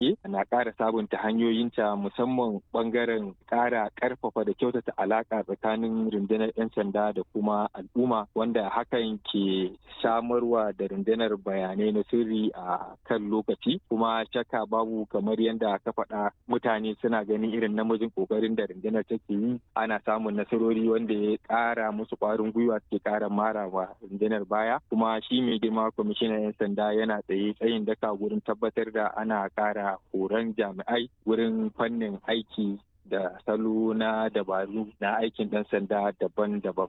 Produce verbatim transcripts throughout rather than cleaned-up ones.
Na ƙara sabunta hanyoyinta, musamman ɓangaren ƙara ƙarfafa da kyautata alaƙa tsakanin rundunar 'yan sanda da kuma al'umma, wanda hakan ke samarwa da rundunar bayanai na sirri a kan lokaci. Kuma shakka babu, kamar yadda ka faɗa, mutane suna ganin irin namijin ƙoƙarin da rundunar take yi, ana samun nasarori wanda ya ƙara musu ƙwarin gwiwa, suke ƙara mara wa rundunar baya. Kuma shi mai girma kwamishinan 'yan sanda yana tsaye tsayin daka wurin tabbatar da ana ƙara horon jami'ai wurin fannin aiki da salo na dabaru na aikin ɗan sanda daban-daban.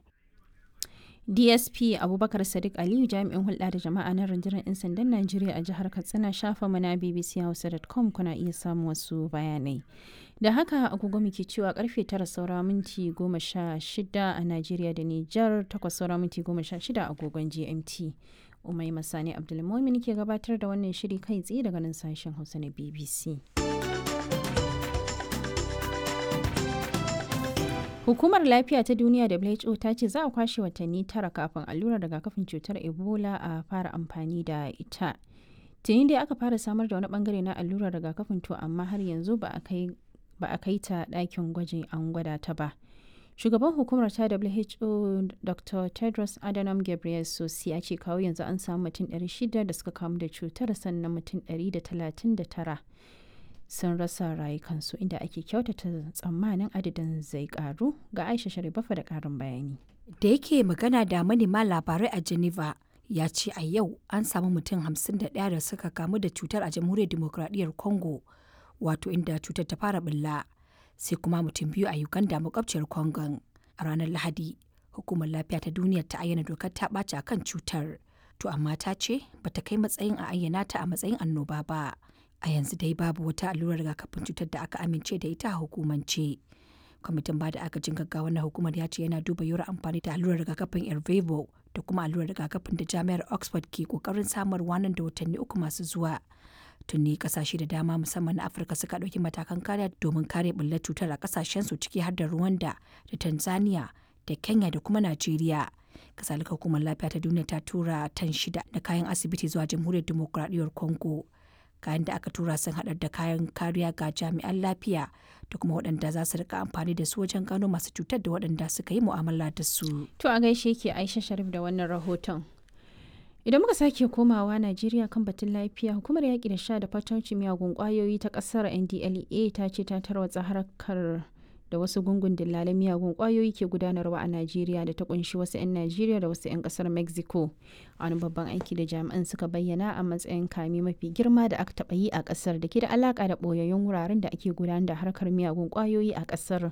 D S P Abubakar Sadiq Aliyu, jami'in hulɗa da jama'a na rundunar 'yan sandan Najeriya a jihar Katsina. Shafa mana B B C Hausa dot com kuna iya samun wasu bayanai. Da haka agogo muke cewa karfe tara saura minti goma sha shida a Najeriya da Nijar, takwas saura minti goma sha shida agogon G M T. Umai Masani Abdulmumin ke gabatar da wannan shiri kai tsaye daga nan sashen Hausa na B B C. Hukumar Lafiya ta Duniya W H O ta ce za a kwashe watanni tara kafin allurar rigakafin cutar Ebola a fara amfani da ita. Tuni dai aka fara samar da wani bangare na allurar rigakafin, to amma har yanzu ba a kai ta ɗakin gwajin an gwada ta ba. Shugaban hukumar ta W H O, Doctor Tedros Adhanom Ghebreyesus, ya ce kawo yanzu an samu mutum ɗari shida da suka kamu da cutar, sannan mutum ɗari da talatin da tara sun rasa rayukansu, inda ake kyautata tsammanin adadin zai karu. Ga Aisha Sharifafa da karin bayani. Da yake magana da manema labarai a Geneva, ya ce a yau an samu mutum hamsin da ɗaya da suka kamu da cutar a Jamhuriyar Dimokuraɗiyyar Congo, wato inda cutar ta fara bulla, sai kuma mutum biyu a Uganda, makwabciyar Congon. A ranar Lahadi, Hukumar Lafiya ta Duniya ta ayyana dokar ta ɓaci akan cutar. To amma ta ce bata kai matsayin a ayyana ta a matsayin annoba ba. A yanzu dai babu wata allurar rigakafin cutar da aka amince da ita a hukumance. Kwamitin ba da agajin gaggawa na hukumar ya ce yana duba yiwuwar amfani da allurar rigakafin Ervevo da kuma allurar rigakafin da Jami'ar Oxford ke kokarin samarwa nan da watanni uku masu zuwa. Tuni kasashe da dama, musamman na Afirka, suka ɗauki matakan kariya domin kare bullar cutar a kasashen su, ciki har da Rwanda da Tanzania da Kenya da kuma Najeriya. Kasalika, Hukumar Lafiya ta Duniya ta tura tan shida na kayan asibiti zuwa Jamhuriyar Dimokuraɗiyyar Congo. Kayan da aka tura sun haɗar da kayan kariya ga jami'an lafiya da kuma waɗanda za su rika amfani da su wajen gano masu cutar da waɗanda suka yi mu'amala da su. To a gaishe ke Aisha Sharif da wannan rahoton. Idan muka sake komawa Najeriya kan batun lafiya, hukumar yaƙi da sha da fatauci miyagun ƙwayoyi ta ƙasar N D L E A ta ce ta tarwatsa harkar da wasu gungun dillalan miyagun kwayoyi ke gudanarwa a Najeriya da ta kunshi wasu 'yan Najeriya da wasu 'yan kasar Mexico. Wani babban aiki da jami'an suka bayyana a matsayin kame mafi girma da aka taɓa yi a kasar da ke da alaka da ɓoyayyun wuraren da ake gudanar da harkar miyagun kwayoyi a kasar.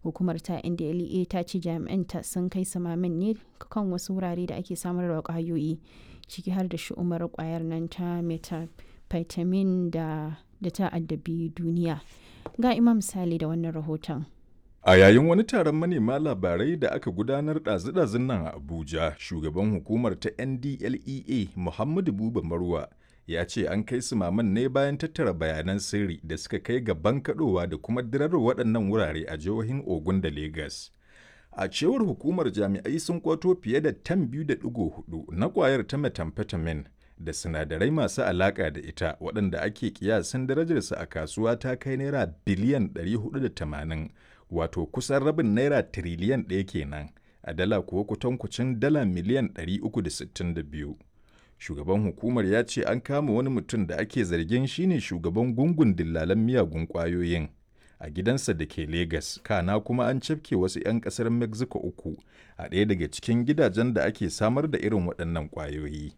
Hukumar ta N D L E A ta ce jami'an ta sun kai samamin ne kan wasu wurare da ake samar da kwayoyi, ciki har da shi'umar kwayar nan ta methamphetamine da da ta addabi duniya. Ga Imam Sale da wannan rahoton. A yayin wani taron manema labarai da aka gudanar ɗazu-ɗazun nan a Abuja, shugaban hukumar ta N D L E A, Muhammadu Buba Marwa, ya ce an kai su maman ne bayan tattara bayanan sirri da suka kai ga bankaɗowa da kuma dirar waɗannan wurare a jihohin Ogun da Legas. A cewar hukumar, jami'ai sun kwato fiye da tan biyu da ɗigo hudu na ƙwayar ta methamphetamine da sinadarai masu alaƙa da ita, waɗanda ake kiyasin darajarsu a kasuwa ta kai naira biliyan ɗari huɗu da tamanin, wato kusan rabin naira tiriliyan ɗaya kenan, a dala kuwa kutankucin dala miliyan ɗari uku da sittin da biyu. Shugaban hukumar ya ce an kama wani mutum da ake zargin shine shugaban gungun dillalan miyagun ƙwayoyin a gidansa da ke Legas, kana kuma an cafke wasu 'yan ƙasar Mexico uku a ɗaya daga cikin gidajen da ake samar da irin waɗannan ƙwayoyi.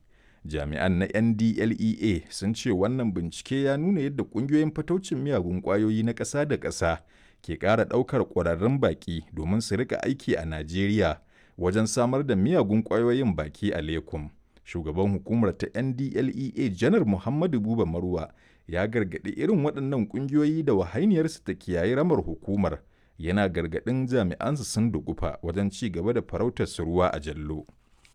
Jami'an na N D L E A sun ce wannan bincike ya nuna yadda ƙungiyoyin fataucin miyagun ƙwayoyi na ƙasa da ƙasa ke ƙara ɗaukar ƙwararrun baƙi domin su rika aiki a Najeriya wajen samar da miyagun ƙwayoyin baki a Lekum. Shugaban hukumar ta N D L E A, Janar Muhammadu Buba Marwa, ya gargaɗi irin waɗannan ƙungiyoyi da wahainiyarsu ta kiyayi ramar hukumar, yana gargaɗin jami'ansu sun dugufa wajen ci gaba da farautar su ruwa a jallo.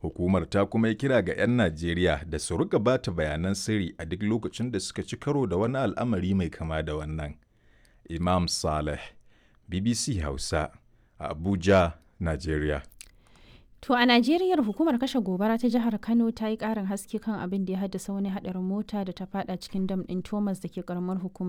Hukumar ta kuma yi kira ga 'yan Najeriya da su rika bata bayanan sirri a duk lokacin da suka ci karo da wani al'amari mai kama da wannan. Imam Saleh, B B C Hausa, a Abuja, Najeriya. To a Najeriya, hukumar kashe gobara ta jihar Kano ta yi ƙarin haske kan abin da ya haddasa wani haɗarin mota da ta fada cikin dam ɗin Thomas da ke karamar hukumar